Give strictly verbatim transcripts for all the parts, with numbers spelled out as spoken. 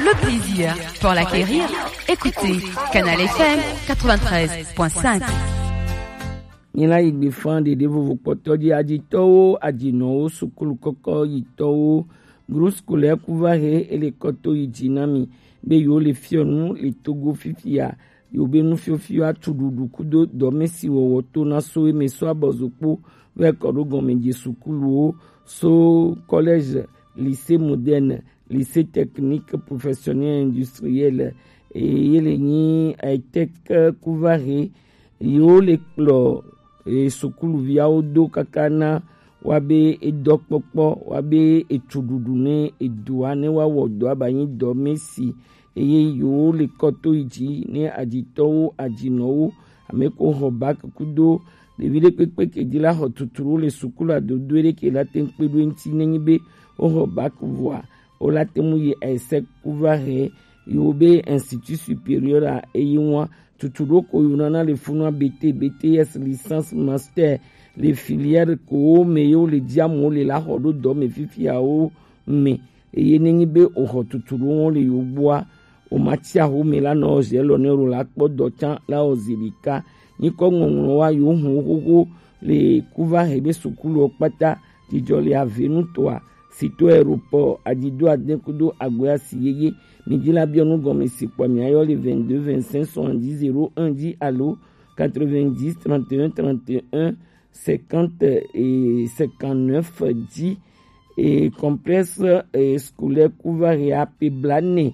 Le plaisir pour l'acquérir, écoutez Canal F M quatre-vingt-treize point cinq. Nyila yi gbe fan ɖeɖe vovo kpɔtɔ ji, ajitɔwo, ajinɔwo, sukulu kɔkɔ yitɔwo, groupe scolaire Kuvare ele kɔto yi ji na mi be yewo le fiɔ nu le Togo fifia, yewo be nufiɔfiɔ atu ɖuɖu kudo dɔmesi wɔwɔ to na so eme so abɔzokpo vɛ kɔ ɖo gɔmɛje sukuluwo so collège, lycée moderne, lycée technique professionnel industriel, eye le nyi, eh, tech Kuvare, yewo le kplɔ, eh, sukuluviawo do kaka na wa be edɔkpɔkpɔ, wa be etuɖuɖu ne edua ne wa wɔ dɔ aba nyi dɔmesi, eye yewo le kɔto yi ji ne ajitɔwo, ajinɔwo, ame ko xɔ bac kudo ɖevi ɖe kpekpe ke di la xɔ tuturu le sukulu adodo ɖe ke la te ŋu kpe ɖo eŋuti ne nyi be wo xɔ bac vɔa, wo la te ŋu yi ese Kuvare yewo be institut supérieur a eye ŋua tutu ɖo ko yewo nana le funua B T, B T S, licence, master, le filière ko me yewo le ji amewo le la xɔ ɖo dɔ me fifiawo me. Eye ne nyi be o xɔ tutu ɖo ŋɔ le yewo gbɔa, o ma tsi aho me la nɔ zi elɔ ne o la kpɔ dɔ tsã la o zi ɖeka. Nyikɔ ŋɔŋlɔ wa yewo hɔn xoxo le Kuvare be sukulu kpata, jijɔ le ave nu toa, sito aéroport, ajido ade kudo agoya si yeye. Mi di la biɔ nu gɔme si kpɔ mi ayɔ le vingt-deux vingt-cinq soixante-dix zéro un dix alo quatre-vingt-dix trente et un trente et un cinquante et cinquante-neuf dzi. Et complexe, eh, scolaire Kuvare a pe bla nɛ.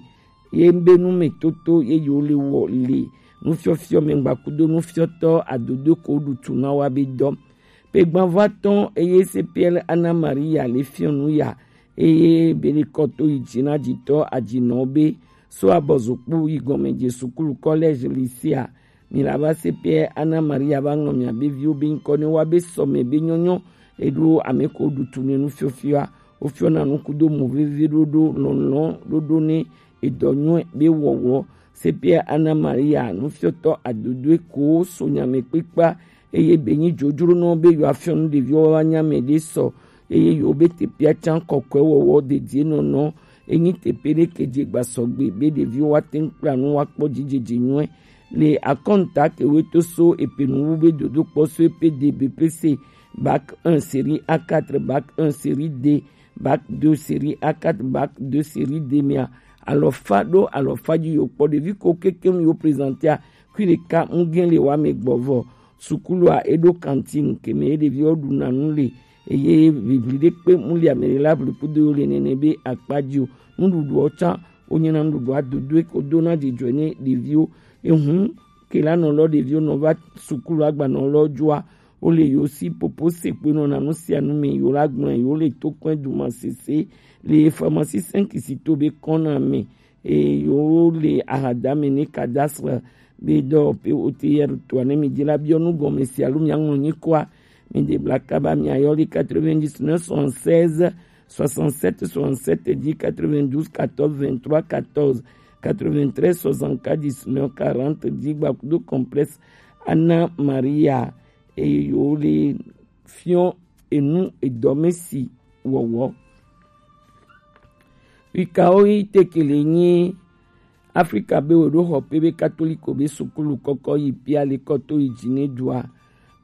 Ye be nu me toto ye yo le wɔ le nufiɔfiɔ me gba kudo nufiɔtɔ adodo ko ɖu tu na wa be dɔ. Pe gbanvɔ atɔ̃ eye C P L Anna Maria le fiɔ nu ya, eye be le kɔto yi dzi na dzitɔ adzinɔ be so abɔzokpo yi gɔme je sukulu, collège, lycée a. Mi la va se pɛ Ana Maria va ŋlɔ mia be viwo be ŋkɔ ne wa be sɔme be nyɔnyɔ eɖo ame ko ɖu tu ne nufiɔfiɔa. Wofiɔna nu kudo mo veve ɖoɖo lɔlɔ ɖoɖo ne edɔ nyɔe be wɔwɔ. Se pɛ Ana Maria nufiɔtɔ adodoe ko so nyame kpekpa eye be nyi dzodzronɔ be yewoafiɔ nu ɖeviwo woava nya ame ɖe sɔ, eye yewo be teƒea tsã kɔkɔe wɔwɔ dedie nɔnɔ. Enyi teƒe ɖe ke dze gbasɔgbe be ɖeviwo woate ŋu kpla nu woakpɔ dzidzedze nyuie. Le akɔnta ke woe to so epe nuwu be dodokpɔ so epe D B P C, bac un série A quatre, bac un série D, bac deux série A quatre, bac deux série D mea, alɔfa ɖo alɔfa dzi yewo kpɔ. Ɖevi ko kekeŋ yewo présentéa, kui ɖeka ŋugɛ le wa me gbɔ vɔ. Sukulua eɖo cantine ke me ye ɖeviwo ɖuna nu le, eye ʋiʋli ɖe kpe mu le ame ɖe la ʋli kudo yewo le nene be akpa dzi o. Nuɖuɖuwo tsã wonyina nuɖuɖua dodoe ko dona dzidzɔe ne ɖeviwo. Ehun ke la nɔ lɔ ɖeviwo nɔ va sukulu agbanɔ lɔ dzoa, wole yewo si popo se kpoe nɔna nu sia nu me, yewo la gblɔe, yewo le to kɔe duma sese le pharmacie cinq si to be kɔna me, eye yewo le ahadame ne cadastre be dɔ pe O T R toa ne mi dzi la biɔ nu gɔme si alo mia ŋlɔ nyikɔa, mi de bla kaba mia yɔ le quatre-vingt-dix-neuf soixante-seize soixante-sept soixante-sept dix, quatre-vingt-douze quatorze vingt-trois quatorze, quatre-vingt-treize soixante-quatre dix-neuf quarante dix gba kudo complexe Ana Maria. Eye yewo le fiɔ enu edɔme si wɔwɔ. Wikawo yi tekele nyi Afrika be wo ɖo xɔ pe be katoliko be sukulu kɔkɔ yi pia le kɔto yi dzi ne dua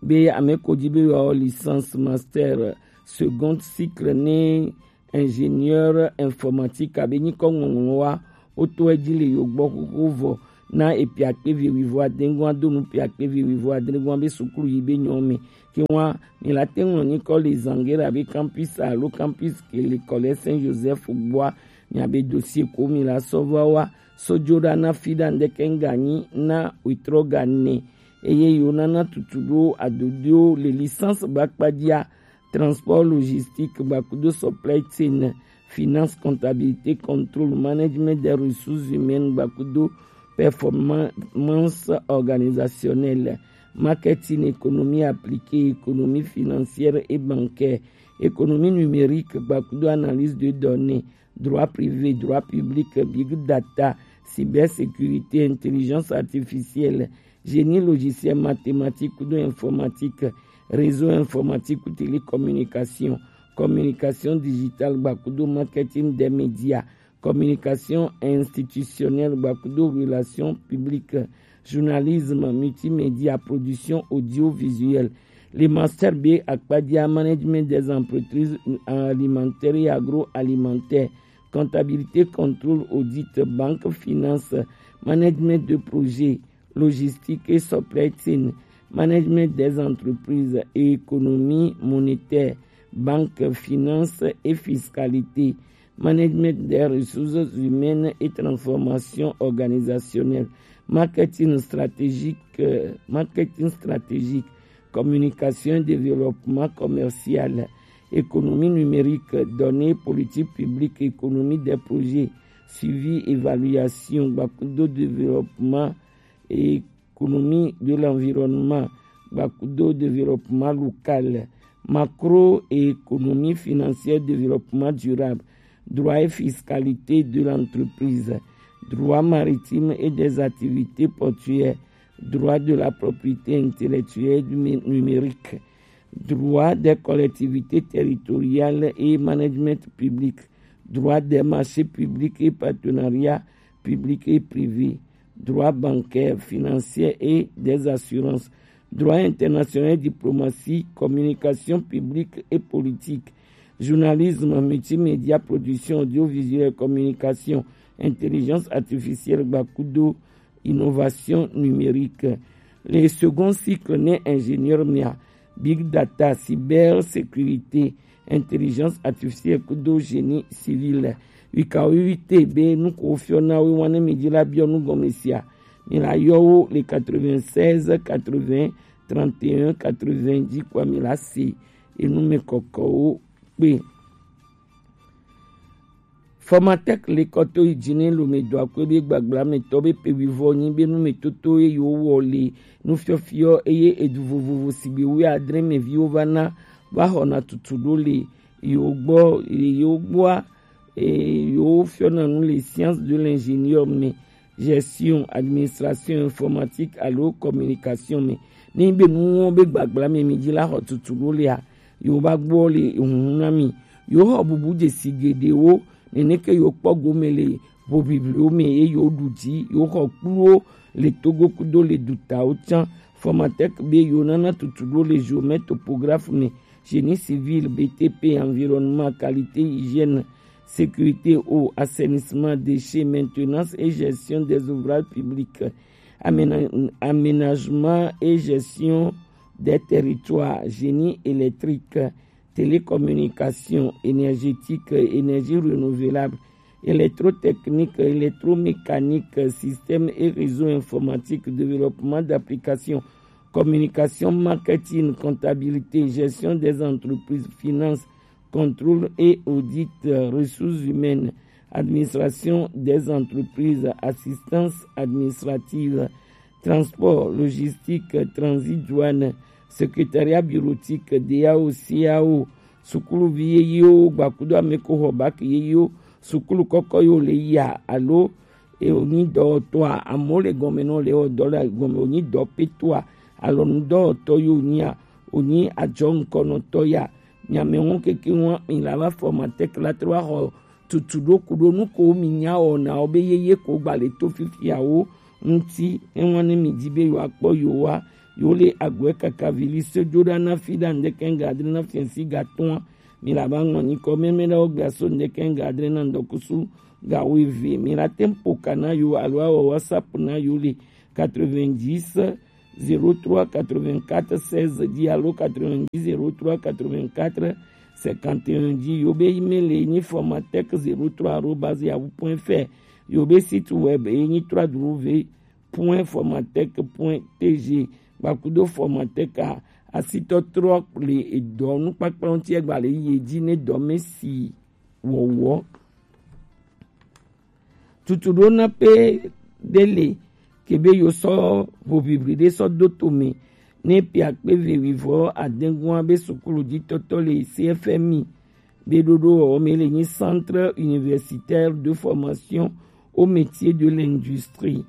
be ame ko dzi be yewoawɔ licence, master, second cycle ne ingénieur informatique abe nyikɔ ŋɔŋlɔ wa woto edzi le yo gbɔ xoxo vɔ na epiakpe vi wuivo adengua do nu piakpe vi wuivo adengua be sukulu yi be nyɔ me. Ke wa mi la te ŋlɔ nyikɔ le Zangera be campus alo campus ke le Collège Saint Joseph gbɔa, mi abe dossier ko mi la sɔ va wa sɔ dzo ɖa na fi ɖa ŋdeke ŋga nyi na wetrɔ ga ne. Eye yo nana tutu ɖo adodoewo le licence ba kpadzia, transport logistique, gbakudo supply chain, finance, comptabilité, contrôle, management des ressources humaines, gbakudo performance organisationnelle, marketing, économie appliquée, économie financière et bancaire, économie numérique, gbakudo analyse de données, droit privé, droit public, big data, cybersécurité, intelligence artificielle, génie logiciel, mathématique kudo informatique, réseau informatique ou télécommunication, communication digitale, gbakudo marketing des médias, communication institutionnelle, gbakudo relation publique, journalisme multimédia, production audiovisuelle. Le master B akpadia, management des entreprises alimentaires et agroalimentaires, comptabilité, contrôle, audit, banque, finance, management de projet, logistique et supply chain, management des entreprises et économie monétaire, banque, finance et fiscalité, management des ressources humaines et transformation organisationnelle, marketing stratégique, euh, marketing stratégique, communication et développement commercial, économie numérique, données, politique publique, économie des projets, suivi, évaluation, gbakudo développement, économie de l'environnement, gbakudo développement local, macroéconomie financière, développement durable, droit et fiscalité de l'entreprise, droit maritime et des activités portuaires, droit de la propriété intellectuelle et numé-, numérique, droit des collectivités territoriales et management public, droit des marchés publics et partenariats publics et privés, droit bancaire, financier et des assurances, droit international, diplomatie, communication publique et politique, journalisme, multimédia, production audiovisuelle, communication, intelligence artificielle, gbakudo, innovation numérique. Le second cycle ne ingénieur mia, big data, cybersécurité, intelligence artificielle kudo génie civil. Wika wite be nu ko fiɔ na wo wane mi di la biɔ nu gɔme sia. Mi la yɔ wo le quatre-vingt-seize quatre-vingts trente et un quatre-vingts di kwa mi la se enu me kɔkɔ wo kpe. Formatec le kɔto yi dzi ne lome do akpe be gbagba me tɔ be pe wivɔ nyi be nu me toto ye yo wɔ le nu fiɔfiɔ eye edu vovovo sigbe wu adre me viwo va na va xɔna tutu ɖo le yo gbɔ, yo gbɔa, e, yo fiɔna nu le science de l'ingénieur me, gestion, administration informatique alo communication me. Ne be nuwo be gbagba me mi dzi la xɔ tutu ɖo lea, yo va gbɔ le huhu na mi. Yo xɔ bubu dzesi geɖewo, neneke yo kpɔ gome le hoʋiʋliwo me ye yo ɖu dzi, yo xɔ kpluwo le Togo kudo le dutawo tsã. Formatec be yo nana tutu ɖo le géomètre topographe me, génie civil, B T P, environnement, qualité, hygiène, sécurité, eau, assainissement, déchets, maintenance et gestion des ouvrages publics, aména-, aménagement et gestion des territoires, génie électrique, télécommunication, énergétique, énergie renouvelable, électrotechnique, électromécanique, système et réseau informatique, développement d'applications, communication, marketing, comptabilité, gestion des entreprises, finance, contrôle et audit, ressources humaines, administration des entreprises, assistance administrative, transport, logistique, transit, douane, secrétariat bureautique, D A O, C A O, sukuluvi yeyewo, gbakudo ame ko xɔ bac yeyewo, sukulu kɔkɔ yo le ya alo e wonyi dɔwɔtɔa, amewo le gɔme nɔ le wɔ dɔ le gɔme wonyi dɔpetɔa, alɔnudɔwɔtɔ yo nyia, wonyi adzɔ ŋkɔnɔtɔ ya. Nyame ŋu keke ŋua mi la va Formatec la trɔ va xɔ tutu ɖo ku ɖo nu ko mi nya wɔnawo be yeye ko gba le to fifiawo ŋuti. Ewa ne mi di be yo akpɔ yo wa, yo le agwe kaka vili se jo ɖa na fi ɖa ŋdeke ŋga adre na fiɛsi ga tɔa. Mi la va ŋlɔ nyikɔ mɛmɛ ɖe wo gbe aso ŋdeke ŋga adre na ŋdɔkusu ga wo eve. Mi la te ŋ ƒo ka na yo alo awɔ WhatsApp na yo le quatre-vingt-dix zéro trois quatre-vingt-quatre seize dix alo quatre-vingt-dix zéro trois quatre-vingt-quatre cinquante et un dix. Yo be email ye nyi formatec zéro trois arobase yahoo point F R. Yo be site web ye nyi trois W point formatec point T G. Gbakudo Formatec a, asitɔtrɔ le edɔ nukpakpla ŋuti egba le yi edzi ne dɔ me si wɔwɔ. Tutu ɖo na pe ɖe le ke be yo sɔ hoʋiʋli ɖe sɔ do to me ne pe akpe ve wivɔ adegua be sukulu dzi tɔtɔ le C F M I be ɖoɖo wɔwɔ me le nyi Centre Universitaire de Formation au Métier de l'Industrie.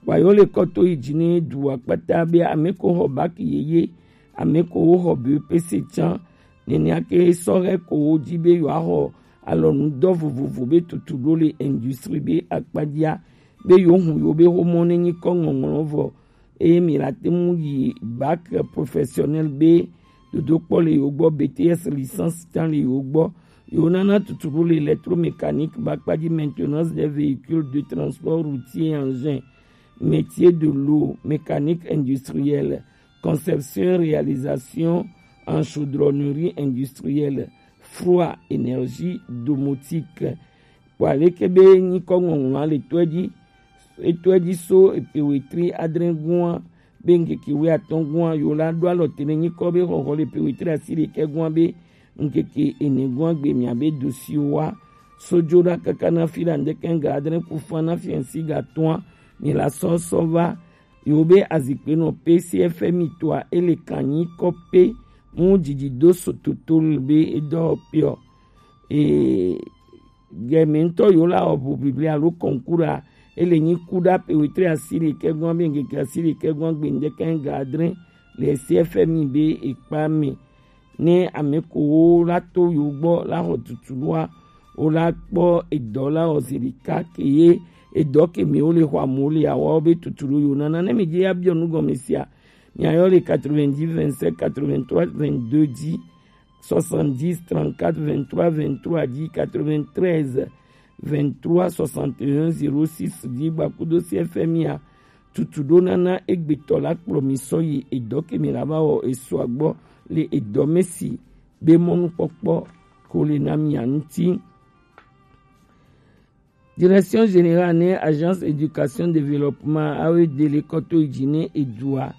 Wa yo le kɔ to yi dzi ne du akpata be ame ko xɔ bac yeye, ame ko wo xɔ B E P C tsã, nenea ke sɔ hɛ ko wo dzi be yo axɔ alɔnudɔ vovovo be tutu ɖo le industrie be akpajia be yewo hun yewo be xomɔ ne nyikɔ ŋɔŋlɔ vɔ eye mi la te ŋu yi bac professionnel be dodokpɔ le yewo gbɔ, B T S licence tsa le yewo gbɔ. Yewo nana tutu ɖo le électromécanique be akpaji, maintenance des véhicules de transport routier et engins, métier de l'eau, mécanique industrielle, conception et réalisation en chaudronnerie industrielle, froid, énergie domotique. Kpɔ aleke be nyikɔ ŋɔŋlɔa le tɔe dzi, etɔe dzi so epe wetri adre gua be ŋkeke wuiatɔ̃ gua yewo la ɖo alɔ te ne nyikɔ be xɔxɔ le epe wetri asiɖekɛ gua be ŋkeke ene gua gbe mia be dossier wa so dzo ɖa kaka na fi la ŋdeke ga adre ku fa na fiɛnsi ga tɔa mi la sɔ sɔ va yewo be azikpe nɔ pe C F M I tɔa ele kan nyikɔ pe mu dzidzi do so toto be edɔ piɔ. Ee, gɛmɛ ŋutɔ yewo la wɔ ʋuʋiʋli alo concours a, ele nyi ku ɖa pe wetri asiɖekɛ gɔn be ŋkeke asiɖekɛ gɔn gbe ŋdeke ga adre le C F M I be ekpa me. Ne ame ko wo la to yewo gbɔ la xɔ tutu ɖoa, wo la kpɔ edɔ la wɔ zi ɖeka ke ye edɔ ke me wo le xɔ amewo le awa wo be tutu ɖo yewo nana. Ne mi dzi ya biɔ nu gɔme sia, mi ayɔ le quatre-vingt-dix vingt-sept quatre-vingt-trois vingt-deux dzi. Soixante-dix trente-quatre vingt-trois vingt-trois dzi, quatre-vingt-treize vingt-trois soixante et un zéro six dzi gbakudo C F M I a tutu ɖo nana egbetɔ la kplɔ mi sɔ yi edɔ ke mi la va wɔ esu agbɔ le edɔ me si be mɔnukpɔkpɔ ko le na mia ŋuti. Direction Générale ne Agence Éducation Développement, A E D, le kɔto yi dzi ne edua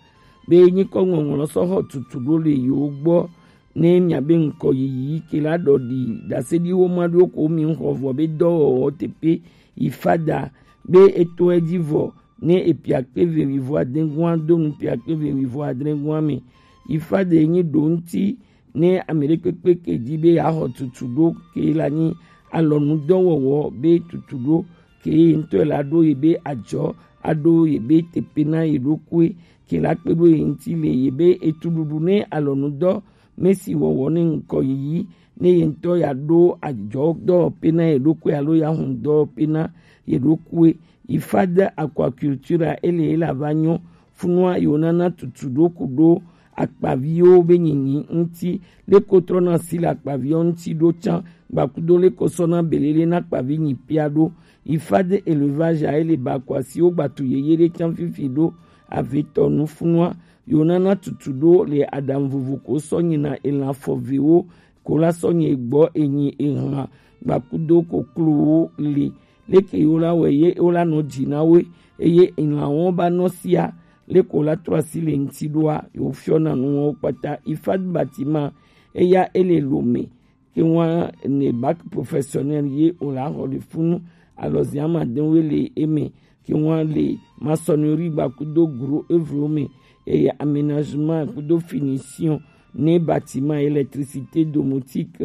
be nyikɔ ŋɔŋlɔ sɔ xɔ tutu ɖo le yewo gbɔ ne mia be ŋkɔ yiyi ke la ɖɔ ɖi daseɖi wo ma ɖo ko mi ŋxɔ vɔ be dɔwɔwɔ teƒe yi fada be etɔe dzi vɔ ne epia kpe ve wi vɔ adre gua do nu pia kpe ve wi vɔ adre gua me. Yi fada yi nyi ɖo ŋuti ne ame ɖe kpekpe ke di be yeaxɔ tutu ɖo ke la nyi alɔnudɔwɔwɔ be tutu ɖo ke ye ŋutɔ la ɖo ye be adzɔ aɖo ye be teƒe na ye ɖokui ke la kpe ɖo ye ŋuti le ye be etuɖuɖu ne alɔnudɔ me si wɔwɔ ne ŋkɔ yiyi ne ye ŋutɔ ya ɖo adzɔ dɔwɔƒe na ye ɖokui alo ya hun dɔwɔƒe na ye ɖokui. Yi fade aquaculture ele ye la va nyɔ funua yewo nana tutu ɖo ku ɖo akpaviwo be nyinyi ŋuti, leko trɔna asi le akpaviwo ŋuti ɖo tsã, gbakudo leko sɔna belele na akpavi nyi pia ɖo. Yi fade élevage a ele ba akuasiwo gbatu yeye ɖe tsã fifi ɖo avetɔ nu funua yewo nana tutu ɖo le aɖaŋu vovo ko sɔ nyina elan fɔvewo ko la sɔ nye gbɔ enyi ehlã gbakudo koklowo le. Leke yewo la wɛ ye wo la nɔ dzi na wo eye ehlãwo ba nɔ sia leko la trɔ asi le ŋuti ɖoa yewo fiɔna nuwo kpata. Ifad Batima eya ele Lome ke ŋua ne bac professionnel ye o la xɔ le funu alɔzia ma de wo le eme ke ŋua le maçonnerie gbakudo gros œuvre me eye aménagement kudo finition ne bâtiment, électricité domotique,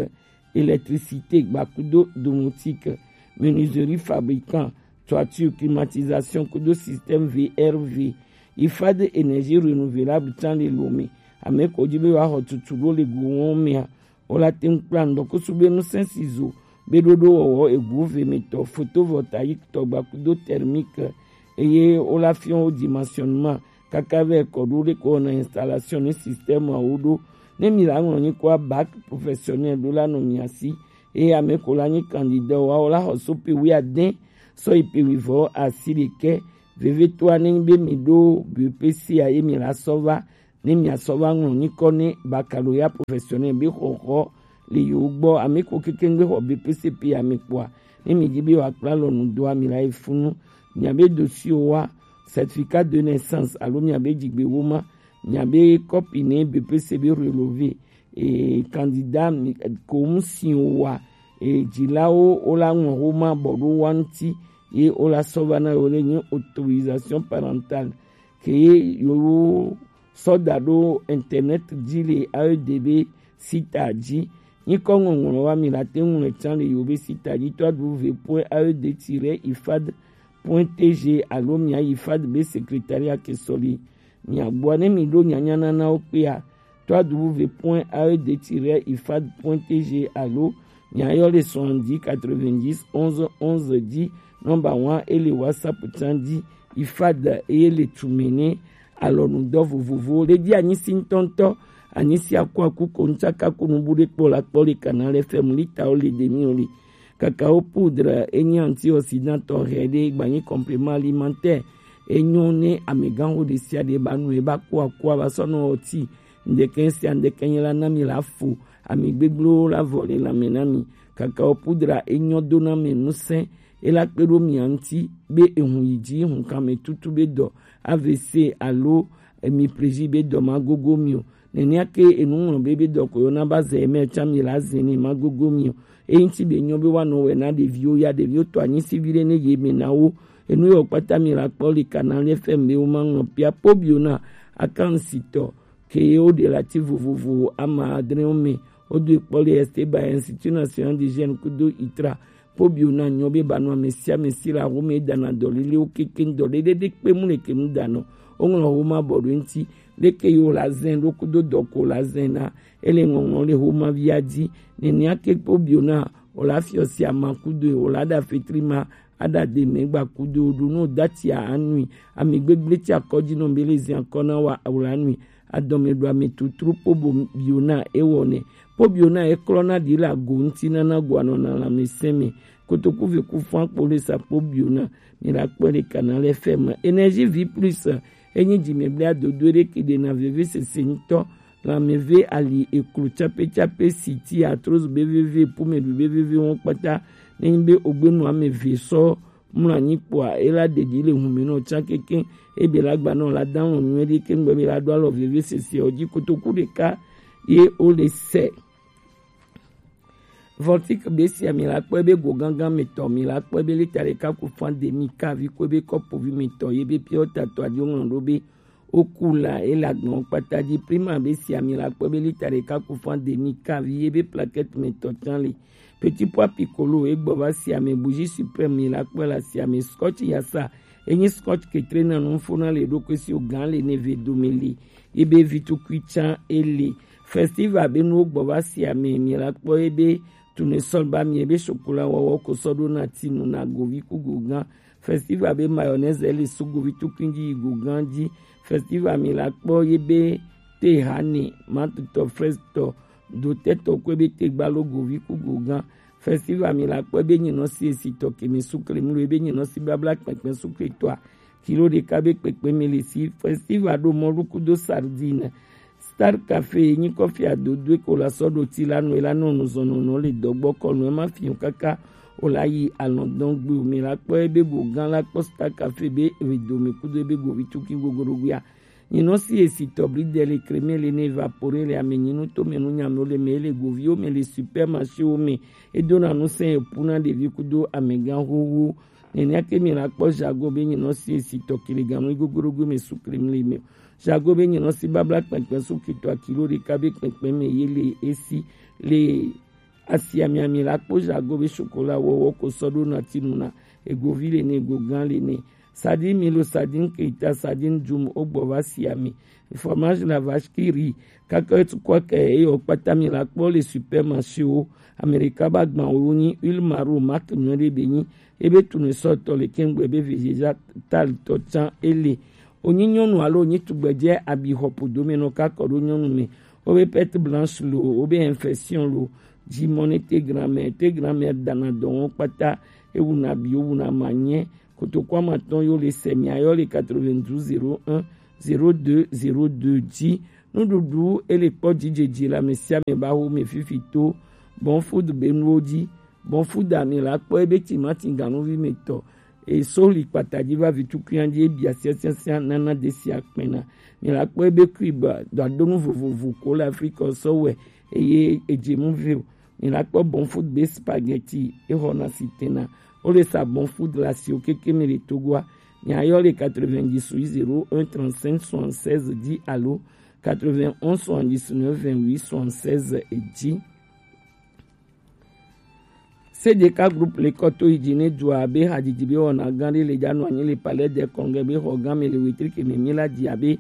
électricité gbakudo domotique, menuiserie fabricant, toiture, climatisation kudo système V R V. Ifade énergie renouvelable tsã le Lome. Ame ko dzi be yewoaxɔ tutu ɖo le go wɔm mea, wo la te ŋu kpla ŋdɔkusu be ŋusẽ si zo be ɖoɖo wɔwɔ egu ve me tɔ, photovoltaïque tɔ gbakudo thermique, eye wo la fiɔ wo dimensionnement kaka vɛ kɔ ɖo ɖe ko wɔna installation ne système awo ɖo. Ne mi la ŋlɔ nyikɔa bac professionnel ɖo la nɔ mia si, eye ame ko la nyi candidat wa wo la xɔ so pe wuiade sɔ yi pe wuivɔ asi ɖekɛ. Vevetoa ne nyi be mi ɖo B E P C a ye mi la sɔ va ne miasɔ va ŋlɔ nyikɔ ne baccalauréat professionnel be xɔxɔ le yewo gbɔ. Ame ko keke ŋgbe xɔ B P C P ame kpɔa, ne mi di be wa kpla lɔ nu doa mi la yi funu. Mia be dossier wa, certificat de naissance alo mia be dzigbe wo ma, mia be kɔpi ne B P C be relevé, e candidat mi ko ŋu si wa, e dzilawo wo la ŋlɔ wo ma bɔ ɖo wa ŋuti ye wo la sɔ va na yewo le nyi autorisation parentale ke yewo sɔ da ɖo internet dzi le A E D be sita dzi. Nyikɔ ŋɔŋlɔ wa mi la te ŋu le tsã le yewo be sita dzi, trois W point A E D tiret ifad point T G alo mia yi ifad be secrétariat ke sɔ li mia gbɔa. Ne mi ɖo nyanya nana wo kpea, trois W point A E D tiret ifad point T G alo Nya yɔ le soixante-dix quatre-vingt-dix onze onze dzi. Nɔmba wa e le WhatsApp tsan dzi. Ifad eye le tume ne alɔnudɔ vovovowo le dzi. Anyisi ŋutɔŋutɔ, anyisi akuaku ko ŋtsaka ko nubu ɖe kpɔ la kpɔ le kana le fɛmu litawo le demiwo le. Kakao poudre enyi antioxydant tɔxɛ ɖe gbanyi complément alimentaire. Enyo ne amegãxo ɖe sia ɖe ba nu eba ko akua ba sɔ nɔ ɔti. Ŋdeke sia ŋdeke nye la na mi la fo ami gbegblẽwo la vɔ le lãme na mi. Kakao poudre enyɔ do na mi ŋusẽ, ela kpe ɖo mia ŋuti be ehun yi dzi, hunkanmetutu be dɔ, A V C alo hemiplégie be dɔ magogo mi o. Nenea ke enu ŋlɔ be be dɔ ko yɔna ba ze eme tsã mi la ze ne magogo mi o. Eyi ŋuti be nyɔ be woanɔ wɛ na ɖeviwo ya, ɖeviwo tɔ anyisi viɖe ne ye me na wo. Enu yɔ kpata mi la kpɔ le kana le fɛm be wo ma ŋlɔ pia po biona akansitɔ ke ye woɖe le ati vovovo ama adrewo me. Wodo ekpɔ le Esteban Institut National de Jeune kudo itra. Kpobio na nyɔ be banu ame sia ame si le axome dana dɔlelewo kekeŋ dɔlele ɖe kpe mu le ke nu danɔ. Woŋlɔ xoma bɔ ɖo eŋuti. Leke yi wòla zɛn ɖo kudo dɔ ko wòla zɛn na ele ŋɔŋlɔ le xoma via dzi. Nenea ke kpobio na wòla fiɔ si ama kudo wòla ɖa fetri ma aɖa de mɛ gba kudo ɖo no dati anui. Ami gbegble ti akɔdzi nɔ be le zin akɔ na wa wòla nui. Adɔme ɖo ame tutru kpo bo biona ewɔ nɛ. Kpo biona eklɔ na ɖi le ago ŋuti nana go anɔ na lãmesẽ me. Kotoku ve ku fã kpo le sa kpo biona. Mi la kpɔ le kana le fɛ me. Énergie vie plus. Enyi dzi me bla dodo ɖe ke ɖe na veve sese ŋutɔ. Lãmeve ali eklo tsape tsape si ti arthrose be veve pume ɖu be veve wɔn kpata. Nenyi be ogbenu ame ve sɔ mlɔ anyi kpoa ela ɖeɖi le hume nɔ tsã kekeŋ. Ebe la gba nɔ la da lɔn nyuie ɖi ke ŋgbe be la ɖo alɔ veve sese ɔ dzi kotoku ɖeka ye wo le sɛ. Voltic be sia mi la kpɔe be go gangan me tɔ mi la kpɔe be lita ɖeka ku fan demi kavi kɔe be kɔpovi me tɔ ye be piɔ tatɔ adio ŋlɔ ɖo be Okula ye le agbɔn kpata dzi. Prima be si ami la kpɔ be lita ɖeka ku fan demi kavi ye be plaquette me tɔ tsã le. Petit pois piccolo ye gbɔ va si ame bougie suprême mi la kpɔ la si ame scotch yasa enyi scotch ketre na nu fo na le ɖokui si o gan le ne ve dome le ye be vitukui tsã ele. Festival be nuwo gbɔ va si ame mi la kpɔ ye be tournesol ba mi ye be chocolat wɔwɔ ko sɔ ɖo na tinu na govi ku go gan. Festival be mayonnaise ele suguvi tukui dzi yi go gan dzi. Festival mi la kpɔ ye be te hani matutɔ frestɔ dotɛtɔ kɔe be te gbalo govi ku go gan. Festival mi la kpɔ be nyinɔ si esi tɔ kemi sukle mlo ye be nyinɔ si babla kpɛkpɛ sukle tɔa kilo ɖeka be kpekpe mi le si. Festival ɖo mɔlu kudo sardine. Star Cafe yi nyi kɔfi adodoe ko la sɔ ɖo ti la nu la nɔ nuzɔnɔnɔ le dɔgbɔ kɔ nu ema fi kaka o la yi alɔdɔn gbe o mi la kpɔ ebe go gan la kpɔ Star Cafe be ewe dome kudo ebe go vi tuki gogorogoa. Nyinɔ si esi tɔ bli de le kreme le ne evapore le ame nyinu to me nu nyame le me le goviwo me le supermarché wo me. Edona nu sɛ epu na ɖevi kudo amegã xoxo. Nenea ke mi la kpɔ jago be nyinɔ si esi tɔ kiliganu gogorogo me su kreme le me. Jago be nyinɔ si babla kpɛkpɛ su kitɔ akilo ɖeka be kpɛkpɛ me ye le esi le asia miami la kpɔ jago be chocolat wɔwɔ ko sɔ ɖo na tinu na egovi le ne egogan le ne. Sardine milo, sardine keita, sardine dum ogbɔ va sia mi. Fromage la vache qui rit. Kaka etukɔ ke eyɔ kpata mi la kpɔ le supermarché wo. Amerika ba gban wo nyi huile maro marque nyuie ɖe be nyi. Ebe tunu sɔtɔ le kengbe be vegetal tɔ tsã ele. Onyi nyɔnu alo onyi tugbedze abi xɔ podo me nɔ kakɔ ɖo nyɔnu me. Wobe perte blanche lo, wobe infection lo, dzi mɔ ne te grand-mère, te grand-mère dana dɔ wɔn kpata, ewu na bi, ewu na ma nye. Kotoku amatɔn yo le sɛ mia yɔ le quatre-vingt-douze zéro un zéro deux zéro deux dzi. Nuɖuɖu ele kpɔ dzidzedzi le ame sia ame ba wo me fifi to Bon Food be nuwo dzi. Bon Food ami la kpɔ ebe timati ganuvi me tɔ. E soli kpata dzi va vitukuia dzi ebia siasiasia nana de sia kpɛna. Mi la kpɔ ebe kui ba dɔadonu vovovo ko le Afrika sɔ wɛ eye edze mu ve o. Mi la kpɔ Bon Food be spaghetti exɔna si tena. Wo le sa Bon Food le asiwo keke mi le Togoa. Mi ayɔ le quatre-vingt-dix zéro un trente-cinq soixante-seize dzi alo quatre-vingt-onze soixante-dix-neuf vingt-huit soixante-seize dzi. C D K Group le kɔ to yi dzi ne dua be hadzidzi be wɔna gã ɖe le dza nɔ anyi le Palais des Congrès be xɔ gã me le wetri ke me mi la dzi abe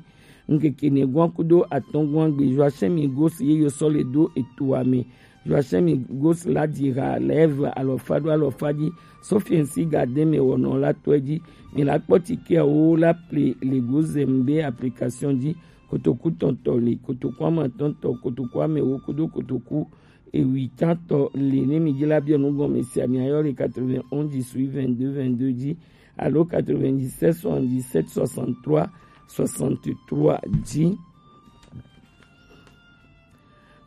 ŋkeke ne gɔn kudo atɔn gɔn gbe Joachim Igos ye yo sɔ le do etoa me. Joachim Gos la dira lève alɔfa ɖo alɔfa dzi. Sofiensi Gardin me wɔnɔ la tɔe dzi. Mi la kpɔ tikeawo la ple le Gozem be application dzi. Kotoku tɔntɔ le, kotoku amatɔntɔ, kotoku amewo kudo kotoku ewitantɔ le. Ne mi dzi la biɔ nu gɔme sia, mi ayɔ le quatre-vingt-onze dix-huit vingt-deux vingt-deux dzi alo quatre-vingt-dix-sept soixante-dix-sept soixante-trois soixante-trois dzi.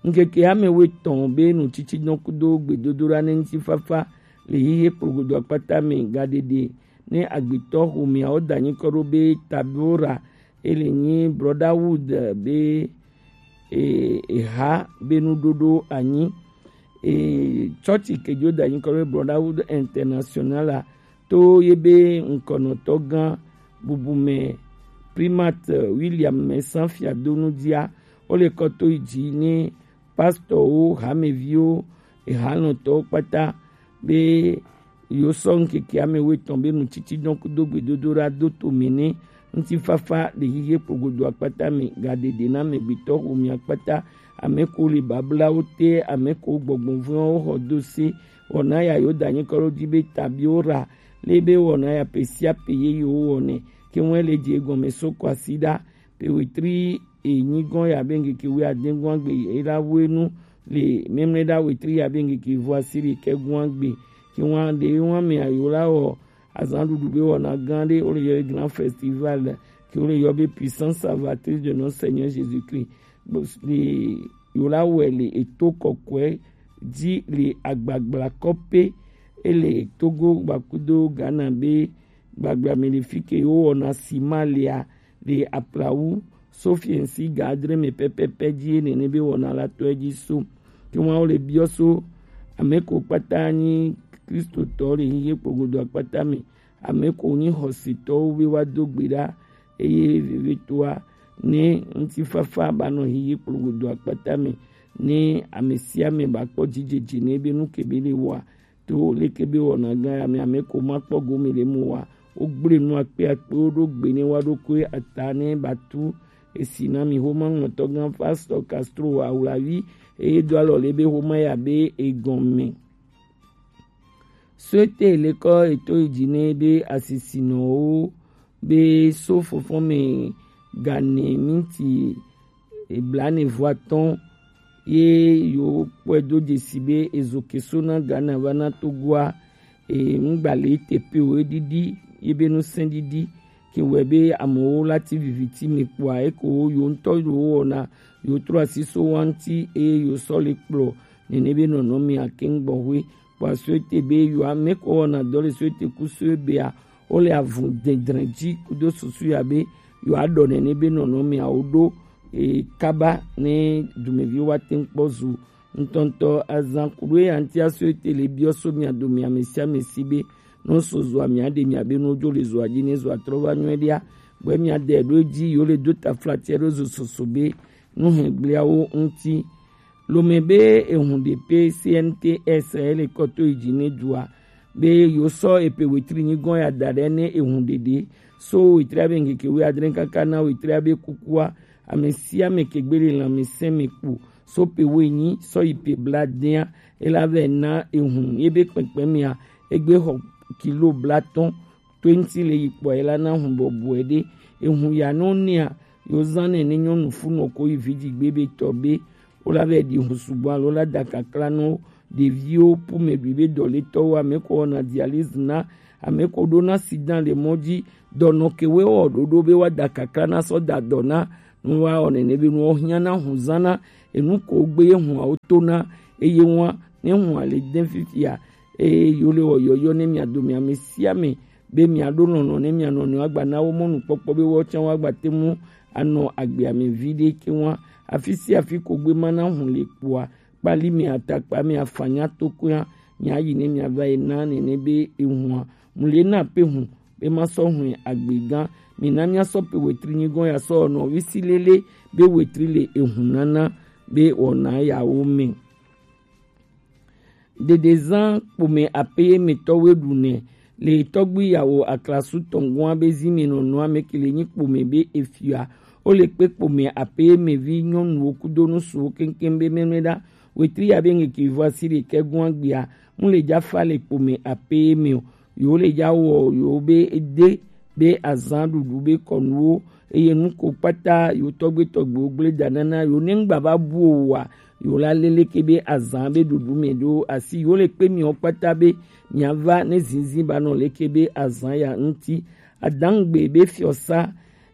Ŋkeke ame etɔ̃ be nutsitsidɔn kudo gbedodoɖa ne ŋutifafa le xexe kplogodo akpata me gaɖeɖe ne agbetɔ xomeawo da nyikɔ ɖo be Tabora, ele nyi Brotherhood be e, eha be nuɖoɖo anyi. E, tsɔtsi kejo da nyikɔ ɖo be Brotherhood International a, to ye be ŋkɔnɔtɔ gã bubume Primate William Mɛsan Fiadonu dzia, wo le kɔ to yi dzi ne pastorwo, hameviwo, ehalɔntɔwo kpata be yewo sɔ ŋkeke ame etɔ̃ be nutsitsidɔn kudo gbedodoɖa do to me ne ŋutifafa le xexe kplogodo akpata me gaɖeɖe na amegbetɔ xomea kpata. Ame ko le bablawo te, ame ko gbɔgbɔ vɔ̃wo xɔ do se. Wɔna ya yo da nyikɔ ɖo dzi be Tabiora le be wɔna ya pe sia pe ye yewo wɔnɛ ke ŋue le dze gɔme so kwasiɖa pe wetri enyi gɔ̃ ya be ŋkeke wuiade gɔ̃ agbe ye la wenu le memle ɖa wetri ya be ŋkeke vɔ asi ɖekɛ gɔ̃ agbe. Ke ŋua ɖe ŋua me ayo la wɔ azan ɖuɖu be wɔna gã ɖe wo le yɔ be grand festival ke wo le yɔ be puissance salvatrice de notre Seigneur Jésus-Christ. Bo- le yo la wɛ le eto kɔkɔe dzi le agbagbla kɔpe ele Togo gbakudo Ghana be gbagbla me le fi ke yo wɔna sima lea le aplawu Sofiensi ga adre me pɛpɛpɛ dzi ye nene be wɔna la tɔe dzi so. Ke ŋua wo le biɔ so ame ko kpata nyi Kristotɔ le xexe kplogodo akpata me, ame ko nyi xɔsetɔwo be woado gbe ɖa, eye vevitɔa ne ŋutifafa ba nɔ xexe kplogodo akpata me, ne ame sia ame ba kpɔ dzidzedze ne be nu ke be le wɔa to leke be wɔna gã ya me ame ko ma kpɔ gome le mu wa. Wo gble nu akpe akpewo ɖo gbe ne wa ɖokoe ata ne ba tu esi na mi xoma ŋlɔtɔ gã Pastor Castro Awulavi eye do alɔ le be xoma ya be egɔme. Suete lekɔ eto yi dzi ne be asisinɔwo be so fɔfɔ me gane minti blaene vɔ atɔ̃ ye yewo kpɔe do dzesi be ezo ke so na Ghana va na Togoa. E, ŋgba le te pe o, eɖiɖi ye be nusẽ ɖiɖi ke wɔe be amewo la ti viviti me kpɔa eko wo yewo ŋutɔ yewo wɔna yewo trɔ asi so wa ŋuti eye yewo sɔ le kplɔ nene be nɔnɔmea keŋ gbɔxwe. Kpɔ suete be yewo ame ko wɔna dɔ le suete ku so ebea wo le avu dedre dzi kudo susu ya be yewo aɖɔ nene be nɔnɔmeawo ɖo e, kaba ne dumeviwo wa te ŋu kpɔ zu ŋutɔŋutɔ azan kuɖo eya ŋuti aso ete le biɔ so mia dome ame sia ame si be ne so zua mia ɖe mia be ne wodzo le zua dzi ne zua trɔ va nyuie ɖia gbɔ mia de ɖo edzi yewo le do taflatse ɖo zo soso be nuhɛgbliawo ŋuti. Lome be ehun ɖe pe C N T S ele kɔ to yi dzi ne dua be yewo sɔ epe wetri nyi gɔ̃ ya da ɖe ne ehun ɖeɖe so wetri abe ŋkeke wuiadre kaka na wetri abe kukua ame sia ame ke gbe le lãmesẽ me kpo so pe woenyi sɔ yi pe bladea ela vɛ na ehun ye be kpɛkpɛ mea egbe xɔ kilo blatɔ̃ to eŋuti le yi kpɔe la na hun bɔbɔe ɖe. Ehun ya no nea yo zan nɛ ne nyɔnu funɔ ko yi vidzigbe be tɔ be wo la vɛ ɖi hun sugbɔ alo la da kakla no ɖeviwo pume bi be dɔletɔwo ame ko wɔna dialyse na ame ko ɖo na sidan le mɔ dzi dɔnɔ ke we wɔ ɖoɖo be wa da kakla na sɔ da dɔ na nu wa wɔ nene be nu wo hiã na hun zan na enu ko gbe ye hun awo to na eye wa ne hun ale de fifia eye yo le wɔ yɔyɔ ne mia dome ame sia ame be miaɖo lɔlɔ̃ ne mia nɔnɔewo agba na wo mɔnukpɔkpɔ be woawo tsã woagba te ŋu anɔ agbea me viɖe ke ŋua. Afi sia afi ko gbe ma na hun le kpoa, kpali mia atakpa mia fanya tokoea miayi ne miava yi na nene be ehua mu le na pe hun be ma sɔ hun agbe gã. Mina mia sɔ pe wetri nyi gɔ̃ ya sɔ nɔ visi lele be wetri le ehun nana be wɔna yawo me. Ɖeɖezã kpome aƒeyemetɔwoe ɖunɛ le tɔgbi yawo aklasu tɔngɔa be zi me nɔnɔa me ke le nyi kpome be efia. Wo le kpe kpome aƒeyemevi nyɔnuwo kudo nusuwo keŋkeŋ be mɛmɛ ɖa. wetri ya be ŋkeke vɔ asi ɖekɛ gɔn agbia, mu le ja fa le kpome ape me o. Yo le ja wɔ yo be ede be azan ɖuɖu be kɔnuwo, eye nu ko kpata yo tɔgbe tɔgbewo gble da nana yo ne ŋgba va bu o wa, yo la lele ke be azan be ɖuɖu me ɖo asi yo le kpe miɔ kpata be miava ne zinzin ba nɔ leke be azan ya ŋuti. Adangbe be fiɔsa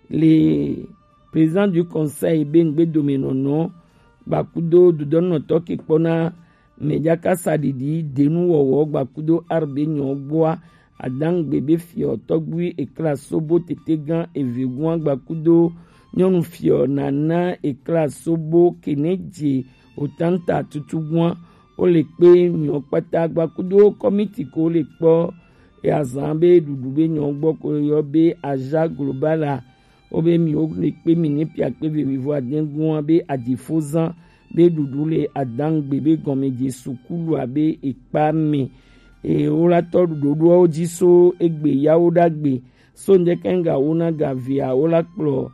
le président du conseil be ŋgbedomenɔnɔ gbakudo dodɔnɔtɔ ke kpɔna mɛjaka saɖiɖi denu wɔwɔ gbakudo arbe nyɔ gbɔa. Adangbe be fiɔ tɔgbui ekla sobo tetegan evegun gbakudo nyɔnu fiɔ nana ekla sobo keneje otanta tutugua. Wo le kpe nyɔ kpata gbakudo kɔmiti ko le kpɔ ya zan be ɖuɖu be nyɔ gbɔ ko yɔ be aja globala. Wobe mi wo le kpe mi ne pia kpe ve wivo adɛngun be adifozan be ɖuɖu le adangbe be gɔmedze sukulu abe ekpa me. E wo la tɔ ɖoɖoawo dzi so egbe yawo ɖagbe so ŋdɛkɛŋga wo na ga via wo la kplɔ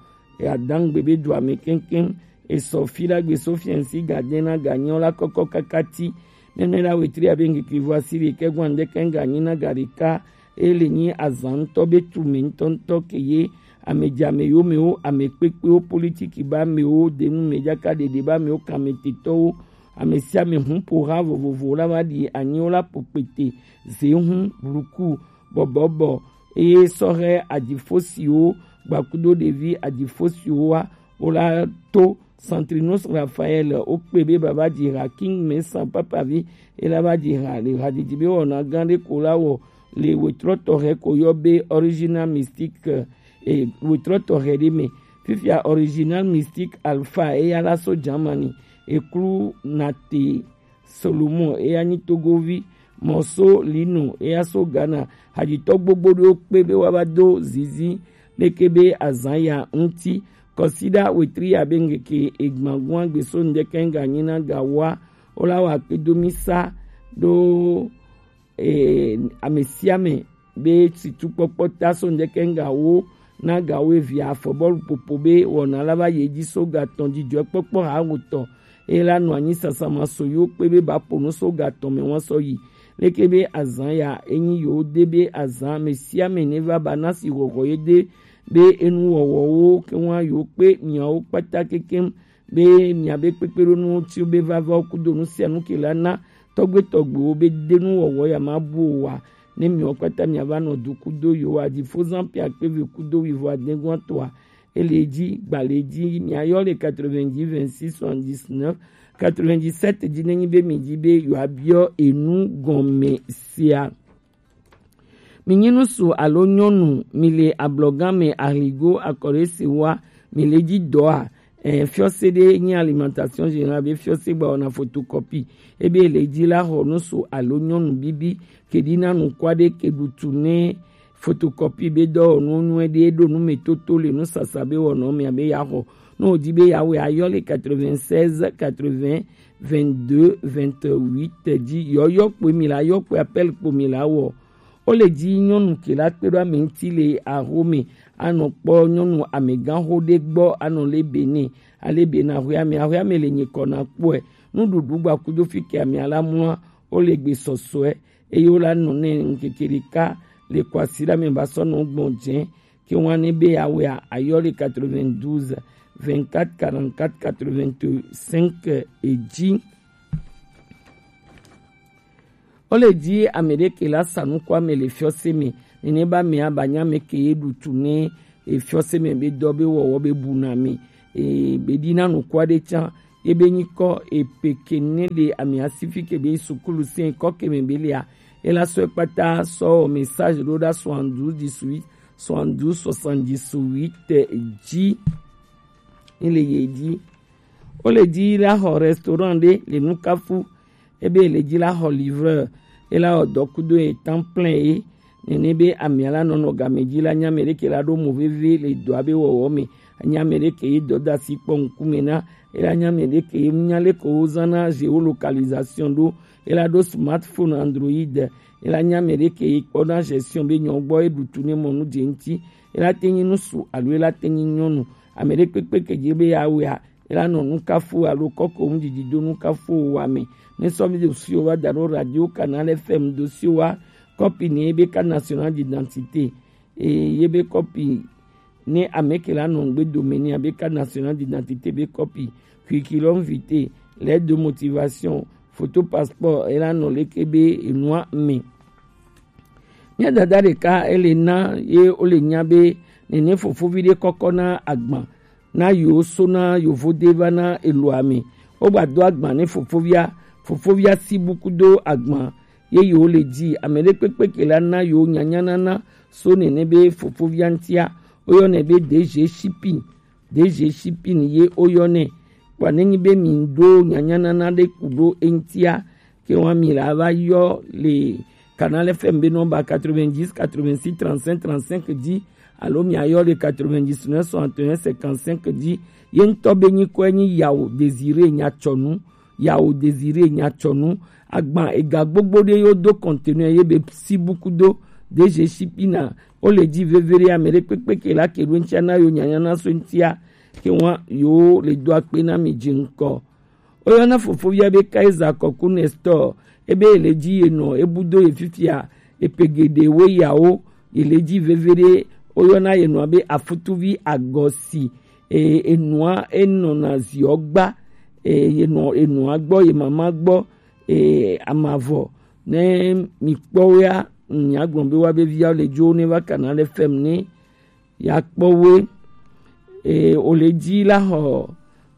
adangbe be dua me kɛŋkɛŋ. Esɔ fi ɖagbe so fiɛnsi gadɛn na ga nyɔ la kɔkɔ kakati. Nɛnɛ la wetri abe ŋkeke vo asi ɖekɛ gɔn ŋdɛkɛŋga nyi na ga ɖeka. Ele nyi azan ŋutɔ be tu me ŋutɔŋutɔ ke ye amedzame yo mewo, ame kpekpewo, politiki ba mewo, denu me jaka ɖeɖe ba mewo, kametetɔwo, ame sia ame hu ƒo ha vovovo la va ɖi anyi wo la ƒo kpete ze hu bluku bɔbɔbɔ eye sɔhɛ adifosiwo gbakudo ɖevi adifosiwo wa wo la to Santrinus Raphael wo kpe be baba dzi ha King Mesa papavi ela va dzi ha le hadidi be wɔna gã ɖe ko la wɔ le wetrɔ tɔxɛ ko yɔ be Original Mystic e wetrɔ tɔxɛ ɖe me. Fifia Original Mystic Alpha eya la so Germany eklu nate Solomon eya nyi Togovi, Mɔso Lino eya so Ghana. Hadzitɔ gbogbo ɖewo kpe be woava do zizi leke be azan ya ŋuti. Kɔsiɖa wetri ya be ŋkeke egbagun agbe so ŋdɛkɛŋga nyi na ga wa wo la wa kpedo mi sa ɖo e, ame sia ame be situkpɔkpɔ ta so ŋdɛkɛŋga wo na ga wo evia afɔbɔlu popo be wɔna la va yi edzi so ga tɔn dzidzɔkpɔkpɔ ha wotɔ eye la nɔ anyi sasama so yewo kpe be ba ƒo nu so ga tɔn me wɔn sɔ yi leke be azan ya enyi yewo de be azan ame sia ame ne va ba na si hɔhɔ ye de be enuwɔwɔwo ke wa yewo kpe miawo kpata kekem be miabe kpekpeɖonuwo tsi be vava wo kudo nu sia nu ke la na tɔgbe tɔgbewo be de nu wɔwɔ ya ma bu o wa ne miawo kpata miava nɔ du kudo yewo adifozan pe akpe ve kudo wivo adɛngɔn toa ele dzi gbalẽ dzi miayɔ le quatre-vingt-dix vingt-six soixante-dix-neuf quatre-vingt-dix-sept dzi ne nyi be mi dzi be yewoabiɔ enu gɔme sia. Mi nyi ŋutsu alo nyɔnu, mi le ablɔgã me, ahligo, akɔɖese wa, mi le dzi dɔa? Ɛ, fiɔse ɖe nyi Alimentation Générale be fiɔse gba wɔna photocopie. Ebe le dzi la xɔ ŋutsu alo nyɔnu bibi ke ɖi na nukua ɖe ke ɖutu ne photocopie be dɔwɔnu nyuie ɖe ɖo nu me toto le nusasa be wɔnɔ mea be ya xɔ. Ne wòdi be ya wɛ ayɔ le quatre-vingt-seize quatre-vingts vingt-deux vingt-huit dzi yɔyɔ kpoe mi la yɔ kpoe appel kpo mi la wɔ. Wole dzi nyɔnu ke la kpe ɖo ame ŋuti le axome anɔ kpɔ nyɔnu amegãxo ɖe gbɔ anɔ le be nɛ ale be na axɔea me axɔea me le nyikɔ na kpɔe nuɖuɖu gbakudo fi ke amea la mlɔa wole gbe sɔsɔe eye wola nɔ nɛ ŋkeke ɖeka le kɔ asi ɖa me va sɔ nɔ gbɔn dze ke ŋua ne be awea ayɔ le quatre-vingt-douze vingt-quatre quarante-quatre quatre-vingt-cinq edzi. Wole dzi ame ɖe ke la sa nuku ame le fiɔse me nene ba me aba nya me ke ye ɖutu ne efiɔse me be dɔ be wɔwɔ be bu na me e be ɖi na nukua ɖe tsã ye be nyikɔ epe ke ne le ame asifi ke be sukulu se kɔ ke me be lia ela sɔ ekpata sɔ message ɖo ɖa soixante-douze dix-huit soixante-douze soixante-dix-huit dzi. Ni le ye dzi. Wole dzi la xɔ restaurant ɖe le nukafu ebe le dzi la xɔ livreur ela wɔ dɔ kudo ye temps plein ye nene be amea la nɔnɔ game dzi la nya ame ɖeke la ɖo mo veve le dɔa be wɔwɔ me anya ame ɖeke ye dɔ da asi kpɔ ŋkume na ela nya ame ɖeke ye nya leke wozana géolocalisation ɖo ela ɖo smartphone android ela nya ame ɖeke ye kpɔna gestion be nyɔ gbɔ ye ɖutu ne mɔ nu dze ŋuti ela te nyi ŋutsu alo ela te nyi nyɔnu ame ɖe kpekpe ke dzi be ya wea e la nɔ nukafo alo kɔko ŋdidi do nukafo wa mɛ. Ne sɔ mi do si o wa da ɖo Radio Canal F M do si o wa kɔpi ni ebe carte nationale d'identité. E ye be kɔpi ne ame ke la nɔ ŋgbe dome ni abe carte nationale d'identité be kɔpi, curriculum vitae, lettre de motivation, photo passeport, e la nɔ leke be enua me. Mía dada ɖeka ele na ye wo le nya be nene fofovi ɖe kɔkɔ na agban na yewo so na yovo de va na eloa me. Wo gba do agban ne fofovia, fofovia si buku do agban ye yewo le dzi. Ame ɖe kpekpe ke la na yewo nyanya nana so nene be fofovia ŋutia. Wo yɔnɛ be D G Shipping. D G Shipping ye wo yɔnɛ. Kpɔ ne nyi be mi ɖo nyanyanana ɖe ku ɖo eŋutia, ke wa mi la va yɔ le Canal F M be nɔmba quatre-vingt-dix, quatre-vingt-six, trente-cinq, trente-cinq dzi, alo mi ayɔ le quatre-vingt-dix-neuf, soixante et un, cinquante-cinq dzi. Ye ŋutɔ be nyikɔe nyi Yawo Désiré Nyatsɔnu. Yawo Désiré Nyatsɔnu. Agban ega gbogbo ɖe yo do conteneur ye be si buku do D G Shipping na. Wo le dzi veve ɖe ame ɖe kpekpe ke la ke ɖo ŋutia na yo nyanya na so ŋutia, ke wa yo le do akpe na mi dzi ŋkɔ. Wo yɔna fofovia be Kaiser Kɔku Nestor, ebe ye le dzi ye nɔ, ebu do ye fifia, epe geɖe wo yawo, ye le dzi veve ɖe, wo yɔna ye nɔa be Afutuvi Agɔsi, e, enua, enɔna ziɔ gba, e, ye nɔ enua gbɔ, ye mama gbɔ, e, amavɔ, ne mi kpɔ wo ya, nya gblɔ be wa be via le dzo ne va Canal F M ne ya kpɔ woe. E, o le dzi la xɔ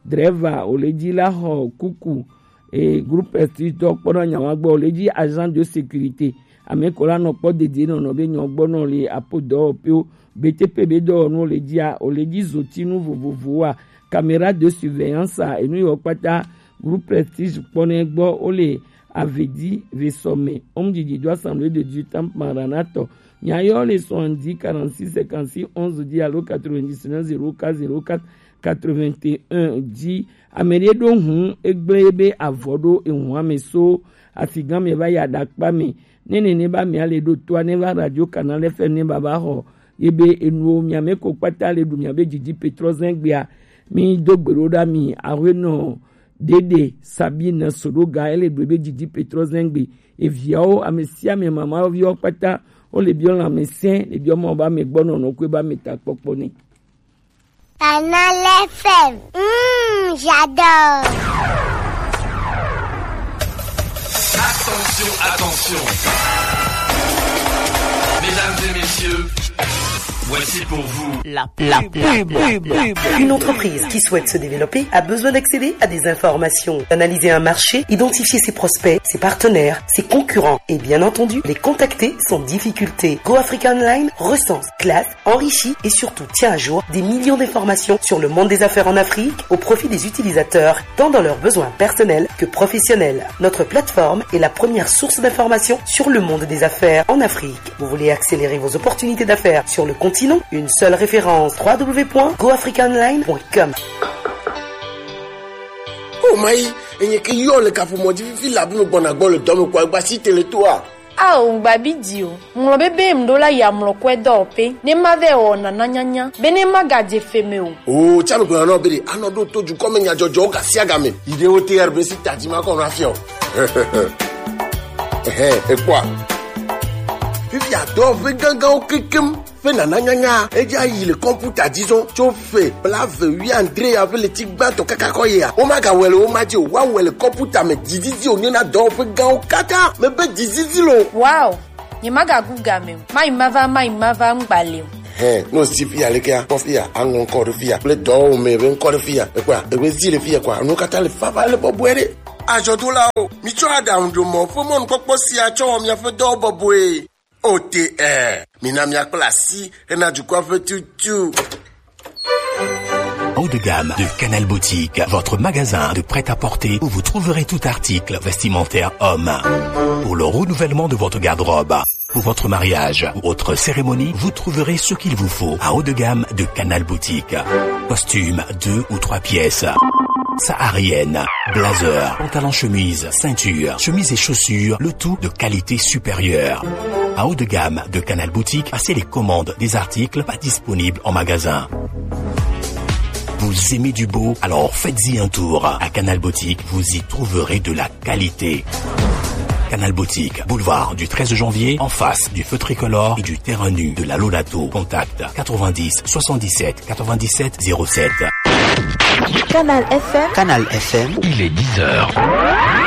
driver, o le dzi la xɔ kuku. E, groupe Prestige tɔ kpɔna nya wa gbɔ, o le dzi agent de sécurité. Ame ko la nɔ kpɔ dedie nɔnɔ be nyɔ gbɔ nɔ le apo dɔwɔƒewo, B T P be dɔwɔnuwo le dzia, o le dzi zotinu vovovowoa, caméra de surveillance a, enu yɔ kpata groupe Prestige kpɔnɛ gbɔ, o le Avedi Vesome, homme du Dido Assemblée de Dieu Temple Maranatha. Nya yɔ le soixante-dix quarante-six cinquante-six onze dzi alo quatre-vingt-dix-neuf zéro quatre zéro quatre quatre-vingt-un dzi. Ame ɖe ɖo hun egblẽ ebe avɔ ɖo ehun ame so afigan me va yi aɖakpa me. Ne nene ba mia le ɖo toa ne va Radio Canal F M ne baba xɔ ye be enuwo mia me ko kpata le ɖu mia be didi petrɔ zɛngbea. Mi do gbe ɖo ɖa mi awe nɔ Dede Sabine Sodoga, ele ɖo be didi petrɔ zɛngbe. Eviawo, ame sia ame, mamaviwo kpata, wo le biɔ lãmesẽ, le biɔ mɔ ba me gbɔ nɔnɔ kue ba me ta kpɔkpɔ ne. Canal F M, mm, j'adore. Attention, attention. Mesdames et messieurs, voici pour vous la pub. La pub. Une entreprise qui souhaite se développer a besoin d'accéder à des informations, d'analyser un marché, identifier ses prospects, ses partenaires, ses concurrents et bien entendu les contacter sans difficulté. Go Africa Online recense, classe, enrichit et surtout tient à jour des millions d'informations sur le monde des affaires en Afrique au profit des utilisateurs, tant dans leurs besoins personnels que professionnels. Notre plateforme est la première source d'information sur le monde des affaires en Afrique. Vous voulez accélérer vos opportunités d'affaires sur le continent ? Une seule référence, trois w point go africa online point com. Oh my, enye ke yo le kaƒomɔ dzi fifi la bi me gbɔna gbɔ le dɔ me kɔ egba si tele toa. Ao, ŋgba bi di o. Ŋlɔ be be ŋɖo la ya mlɔ kɔe dɔwɔƒe. Ne ma vɛ wɔ nana nyanya. Be ne ma gadze fe me o. O, tsa me gblɔna nɔ be ɖe, anɔ ɖo to dukɔ me nyadzɔdzɔwo gasiagame. Yi ɖe wo te R B C tadzi ma kɔ na fiɔ. Ehe, ekpɔa. Fifi adɔwɔƒe gãgãwo kekem. Ƒe nana nyanya, edze ayi le kɔmputa dzi zɔ tso ƒe blaeve wuiadre ya ƒe ɣleti gbãtɔ kaka kɔ yia. Womagawɔe le wo ma dzi o, woawɔe le kɔmputa me. Dzizizi wònye na dɔwɔƒe gãwo katã. Mebe dzizizi lo. Wow! Nyemagagu game o. Mayi mava, mayi mava, ŋgba le o. Hɛn, ne wòsi fiya lekea, kpɔ fiya, aŋlɔ ŋkɔ ɖe fiya kple dɔwɔwome ƒe ŋkɔ ɖe fiya. Ekpɔa, eƒe zi le fiya kɔa, nuwo katã le vava le bɔbɔe ɖe. Azɔdolawo, mitsɔ aɖaŋuɖomɔ ƒe mɔnukpɔkpɔ sia tsɔ wɔ miaƒe dɔwo bɔbɔe. O T R, mina miakpla asi hena dukɔa ƒe tutu. Haut de gamme de Canal Boutique, votre magasin de prêt-à-porter où vous trouverez tout article vestimentaire homme. Pour le renouvellement de votre garde-robe, pour votre mariage ou autre cérémonie, vous trouverez ce qu'il vous faut à haut de gamme de Canal Boutique. Costume, deux ou trois pièces. Saharienne, blazer, pantalon chemise, ceinture, chemise et chaussures, le tout de qualité supérieure. À haut de gamme de Canal Boutique, passez les commandes des articles pas disponibles en magasin. Vous aimez du beau ? Alors faites-y un tour. À Canal Boutique, vous y trouverez de la qualité. Canal Boutique, boulevard du treize janvier, en face du feu tricolore et du terrain nu de la Lolato. Contact quatre-vingt-dix soixante-dix-sept quatre-vingt-dix-sept zéro sept. Canal F M. Canal F M. Il est dix heures.